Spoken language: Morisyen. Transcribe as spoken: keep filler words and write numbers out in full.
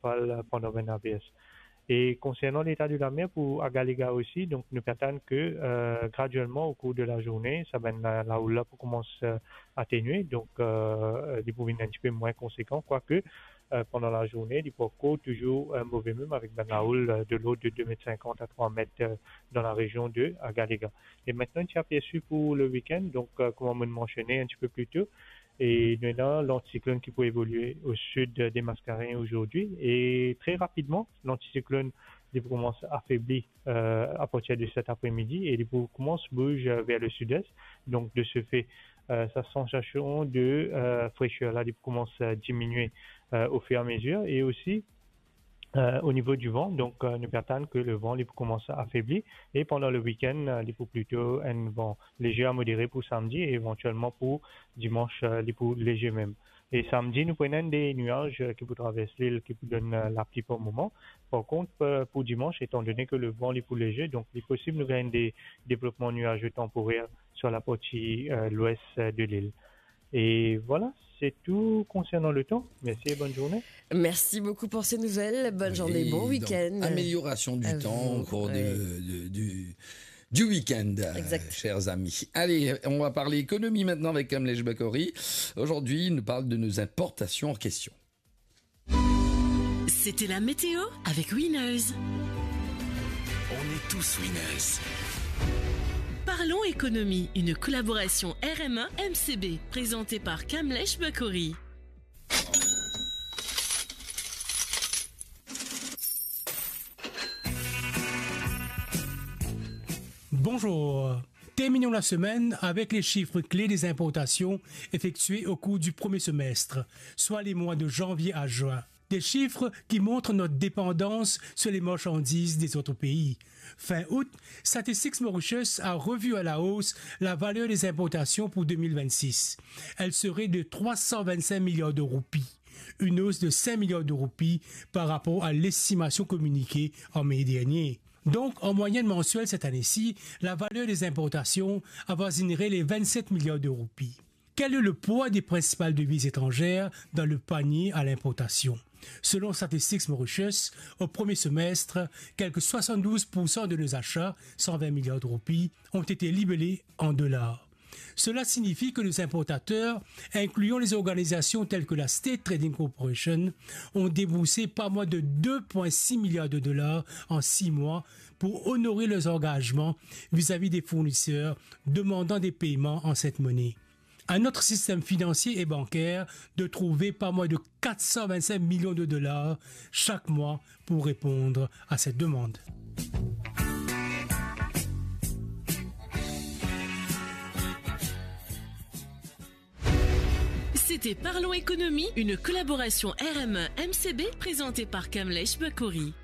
fal, euh, pandan bann avers. E konsernan leta de lamer pou Agalega osi, donk nou pe atann ke, euh, graduelman o kour de lazourne, sa bann la, lahoul la pou koumans, euh, atenue, donk, euh, li pou vinn enn tipe mwin konsekan, kwake, euh, pandan lazourne, li pou ankor touzour, euh, move mem avek bann lahoul, euh, de lord de de met sinkant a trwa met, euh, dan larezion de Agalega. E mintnan, ti apersi pou le week-end, donk, euh, kouma mo'nn mansione enn tipe pli to, e nou ena lantiklonn ki pou evolie o sid de Mascarenhas ozordi, e tre rapidman, lantiklonn, li pou koumans afebli, euh, apartir de set apremidi, e li pou koumans bouz, euh, ver le sid-es. Donk, de se fe, euh, sa sansasion de, euh, freser la, li pou koumans, euh, diminie, euh, au fur et à mesure, e osi, euh, o nivo di van, donk, euh, nou pe atann ke le van, li pou koumans afebli, e pandan le week-end, euh, li pou plito enn van lezer a modere pou samdi, e evantielman pou dimans, euh, li pou lezer mem. E samdi, nou pou ena de niaz, euh, ki pou travers lil, ki pou donn, euh, lapli par moman. Par kont, euh, pou dimans, etandone ke le van, li pou lezer, donk li posib nou gagn de devlopman niaze tanporer sir laparti, euh, lwes, euh, de lil. E vwala, se tou konsernan le tan. Mersi e bonn zourne. Merci beaucoup pour ces nouvelles. Bonne journée, bon week-end. Oui, donc, amélioration du temps au cours de, de, du, du week-end, euh, chers amis. Exact. Allez, on va parler économie maintenant avec Kamlesh Bakori. Aujourd'hui, il nous parle de nos importations en question. C'était la météo avec Winners. On est tous winners. Parlons économie, une collaboration R M un M C B, présentée par Kamlesh Bakori. Bonjour. Terminons la semaine avec les chiffres clés des importations effectuées au cours du premier semestre, soit les mois de janvier à juin. Des chiffres qui montrent notre dépendance sur les marchandises des autres pays. Fin août, Statistics Mauritius a revu à la hausse la valeur des importations pour deux mille vingt-six. Elle serait de trois cent vingt-cinq milliards de roupies, une hausse de cinq milliards de roupies par rapport à l'estimation communiquée en mai dernier. Donc, en moyenne mensuelle cette année-ci, la valeur des importations avoisinerait les vingt-sept milliards de roupies. Quel est le poids des principales devises étrangères dans le panier à l'importation ? Selon Statistics Mauritius, au premier semestre, quelque soixante-douze pour cent de nos achats, cent vingt milliards de roupies, ont été libellés en dollars. Cela signifie que nos importateurs, incluant les organisations telles que la State Trading Corporation, ont déboursé pas moins de deux point six milliards de dollars en six mois pour honorer leurs engagements vis-à-vis des fournisseurs demandant des paiements en cette monnaie. À notre système financier et bancaire de trouver pas moins de quatre cent vingt-cinq millions de dollars chaque mois pour répondre à cette demande. C'était Parlons Économie, une collaboration R M un M C B présentée par Kamlesh Bakori.